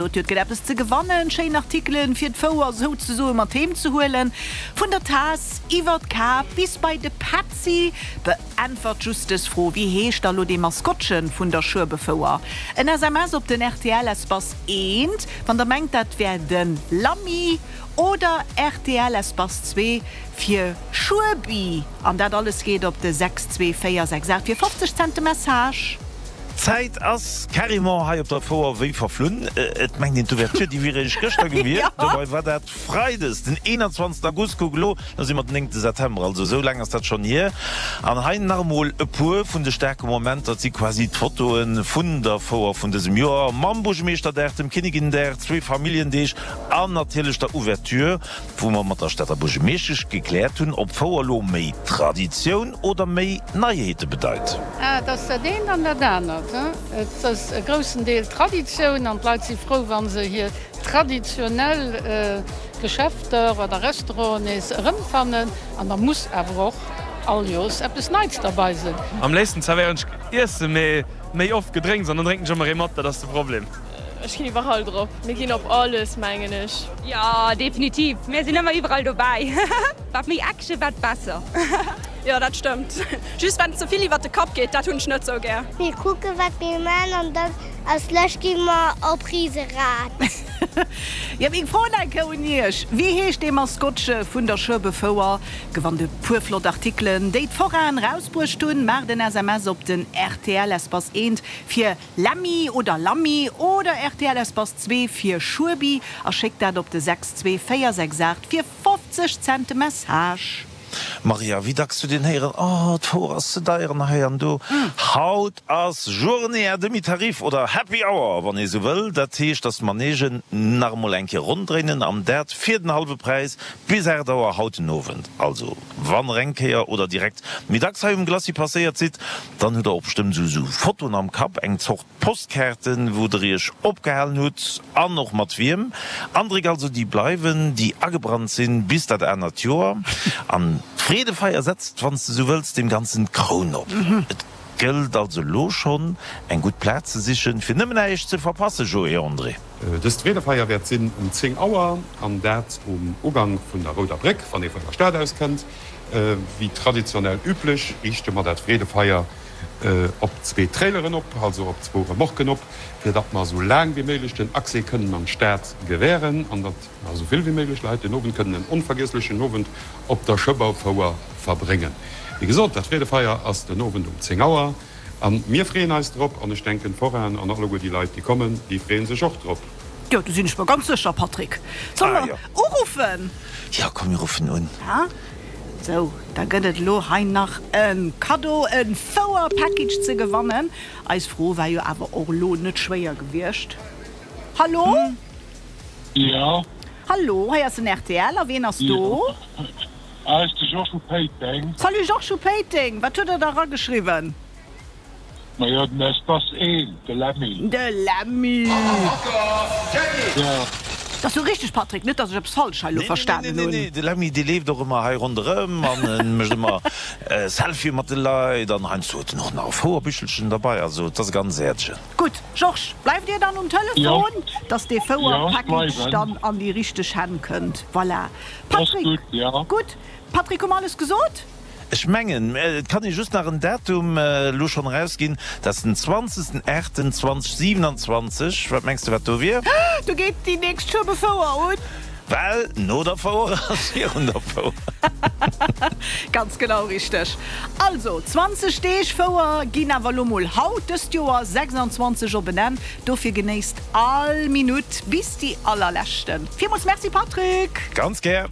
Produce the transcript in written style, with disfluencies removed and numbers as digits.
Et gëtt eppes ze gewannen, schéin Artikelen fir d'Fouer souzesoe mat heem ze huelen. Vun der Taass iwwer d'Kap bis bei de Petzi. Beäntwert just dës Fro, Wéi heescht da lo dee Maskottchen vun der Schueberfouer? En SMS op den rtl Espace 1, wann der mengt dat wär de Lammy, oder rtl Espace 2 fir Schuebi. An dat alles geet op de 62468 fir 50 Cent de Message. D'Zäit ass carrément hei op der Fouer wéi verflunn. Et mengt een d'Ouverture déi wier eréischt gëschter gewiescht. Dobei war dat Freides den 21 August. Kuck elo, lo si mer den 9 September, also esou laang ass dat schonn hier. An hei nach emol e puer vun de staarke Momenter. Et si quasi d'Fotoe vun der Fouer vun dësem Joer mam Buergemeeschterdag, dem Kinnigindag, zwee Familljendeeg an natierlech der Ouverture. Wou mer mat der Stater Buergemeeschtesch gekläert hunn, ob Fouer elo méi Traditioun oder méi Neiheete bedeit. Et ass dat eent an dat anert. Et ass e groussen Deel Traditioun an d'Leit si frou, wa se hir traditionell Geschäfter oder Restauranten nees erëmfannen. An da muss awer och all Joers eppes Neits derbei sinn. Am léifsten zerwéieren ech Iessen, mee méi oft Gedrénks an dann drénken ech ëmmer ee mat, dat ass de Problem. Ech ginn iwwerall drop. Mir ginn op alles mengen ech. Jo definitiv, mir sinn ëmmer iwwerall dobäi. Wat méi Action wat besser. Jo dat stëmmt, just wann et ze vill iwwert de Kapp geet, dat hunn ech net sou gär. Mir kucken wat mir man an dann als lescht gi mer op Riserad. Jo meng Fro eng Kéier un Iech, Wéi heescht dee Maskottche vun der Schueberfouer? Gewannt e puer flott Artikelen déi d'Foraen rausbruecht hunn. Maacht en SMS op den rtl Espace 1 fir Lemmy oder Lammy oder rtl Espace 2 fir Schuebi a schéckt dat op de 62468 fir 50 Cent de Message. Maria, wéi dacks huet een héieren, Oh, d'Fouer ass ze deier an hei an do. Haut ass Journée à demi-tarif oder Happy Hour, wann ee sou wëll. Dat heescht, dass d'Manegen nach emol eng Kéier ronndréinen an dat fir den hallwe Präis bis 8 Auer haut den Owend. Also, wann der eng Kéier oder direkt méi dacks hei um Glacis passéiert sidd, Dann hutt der och bestëmmt esou Fotoen am Kapp, eng Zort Postkaarten, wou der iech opgehalen hutt an och mat wiem. Andréck also, déi bleiwen, déi agebrannt sinn, bis dat anert Joer. An d'Freedefeier setzt, wann s de esou wëlls, deem Ganzen d'Kroun op. Et gëllt also elo schonn, eng gutt Plaz ze sichen, fir nëmmen näischt ze verpassen, Joé André. Dëst Freedefeier wäert sinn um 10 Auer, an dat um Ugank vun der Rouder Bréck, wann ee vun der Stad aus kënnt. Wéi traditionell üblech riichte mer dat Freedefeier op zwee Traileren op, also op zwou Remorquen op, fir datt mer esou laang wéi méiglech den Accès kënnen an d'Stad gewähren an datt esou vill wéi méiglech Leit den Owend kënnen en onvergiesslechen Owend op der Schëbberfouer verbréngen. Wéi gesot, dat Freedefeier ass den Owend um 10 Auer a mir freeën eis drop an ech denken d'Forainen an alleguer déi Leit déi kommen, déi freeën sech och drop. Jo, do sinn ech mer ganz sécher, Patrick. Solle mer uruffen? Jo, komm mir ruffen un. Sou, da gëtt et elo hei nach e Kaddo, e Fouer-Package ze gewannen. Eis Fro war jo awer och elo net schwéier gewiescht. Hallo? Jo. Hallo, hei ass den rtl. A wien ass do? Hei ass de Georges vu Péiteng. Salut Georges vu Péiteng. Wat huet der da erageschriwwen? Majo, den Espace 1, de Lemmy. De Lemmy! Dat ass jo richteg, Patrick, net dass ech eppes falsch hei elo verstanen hunn. Nee, nee, nee, de Lemmy, dee leeft och ëmmer hei ronderëm an e mécht ëmmer Selfie mat de Leit an heiansdo huet en och nach e Fouerbichelchen derbei. Also, et ass e ganz äerdegen. Gutt, Georges, bleift Dir dann um Telefon, dass dee Fouer-Package dann an déi richteg Hänn kënnt. Voilà. Patrick, gutt. Patrick, hu mer alles gesot? Ech mengen, et kann ee just nach en Datum elo schonn erausginn, dat ass den 20. 8. 2027. Wat mengs de, wat do wier? Do geet déi nächst Schueberfouer un. Well no der Fouer ass virun der Fouer. Ganz genau richteg. Also, 20 Deeg Fouer ginn awer elo mol haut dëst Joer 26 op en Enn. Dofir genéisst all Minutt bis déi allerleschten. Villmools Merci Patrick! Ganz gär.